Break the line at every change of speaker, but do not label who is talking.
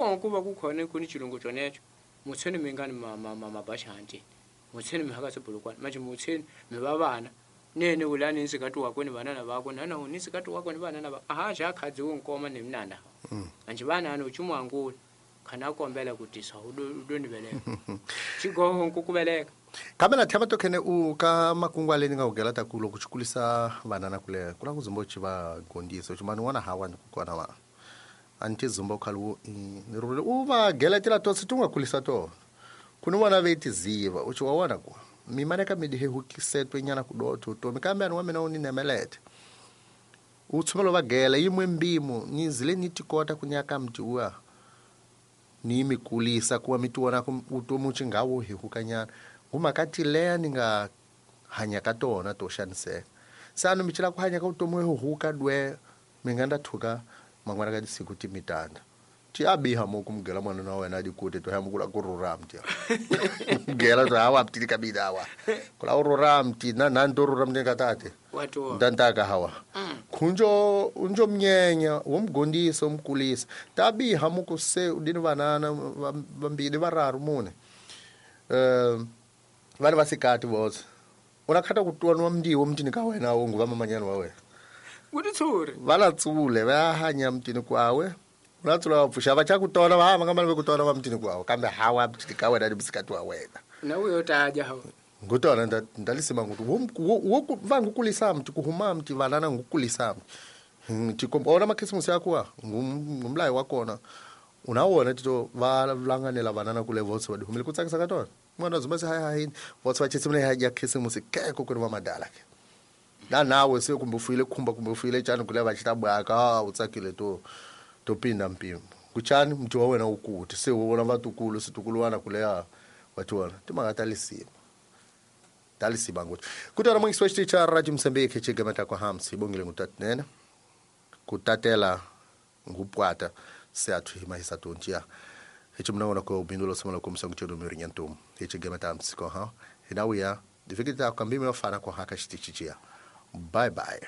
Ku va ku khone ku ni chilungu chonecho mutsheni mi nga ni mabashanti mutsheni mi haka sebulukwana manje mutsheni mi va vana nene ulani nsikati wakwe ni vanana vakwe nana ni nsikati wakwe ni vanana va aha ja khadzi wo nkoma ni mnana manje vanana uchimu angula khana kombela ku tisa u do ni veleka xigoho ku ku veleka.
Kambe na thema to khene u ka makungu ale ni nga ugela ta ku loko xi kulisa vanana kule ku la ku zumba u xi va gondisa u xi mani wana hawa ni ku kona va a ni ti zumba u khale u ni rhule u va geletela to se ti nga kulisa tona ku ni vona ve tiziva u xi wa wona ku mi maneka mi dihehukisetwe nyana ku dotho utomi kambe ani wa mina u ni nemelete u tshumelo va gela yimwe mbimo ni zile ni ti kota ku nyaka mti uya ni mi kulisa kuwa mi ti vona ku utomi u xi nga wo hehukanyana ngumhaka ti leya ni nga hanya ka tona to xaniseka se a ni mi cela ku hanya ka vutomi wo huka dwe mi nga nda thuka man'wana ka tisiku ti mitanda ti a biha mo ku mugela mwana wa wena dikute to hamba kula ku rhurha mti mugela to hawa mti ka bida hawa kula u rhurha mti na na ndo rhurha mti ka tate ntantaka hawa khunjo unjo mnyenya womgondisa umkulisa tabiha muku se udini vanana vambili vararu mune vana vasikati vose unakhata ku twa mndiwo mtini ka wena wo nguva mamanyana wa wena
kutitsuri
vala tsule va hanya mtini kwawe ulatsula va pfuxa va cha ku tona va hamba nga ku tona va mtini kwawe kambe hawa mtini ka wena ni musikati wa wena
na uyo taja hawa
ngutona ndalisema nguti wo va ngukulisa mti kuhuma mti vanana ngukulisa mti tikomba ona makhisimusi yakuwa ngumlayi wa kona unawona tito va langanela vanana kule votse va dihumile ku tsakisa ka tona mwana zuma se hayi votse va chisimile hayi ya khisimusi keko ku ri va madala ke na nawe se kumbe ufuyile khumba kumbe ufuyile tshani kule va xita bwaka u tsakile to to pinda mpimo kuchani mti wa wena ukuti se u vona vatukulu situkuluwana kuleya wa tiwona timhaka ta lisima talisiba nguthi kutana mwingisi wa xitichi Radio Mozambique xigameta kwa hamsi ibongile ngutatinene kutatela ngupwata se athu himahisa tontia hichimnaona ko ubindulo somala kumsa nguchedo mirinyantum hichigameta hamsi ko ha hinauya difikita kambimi wafana kwa haka xitichi chia. Bye bye.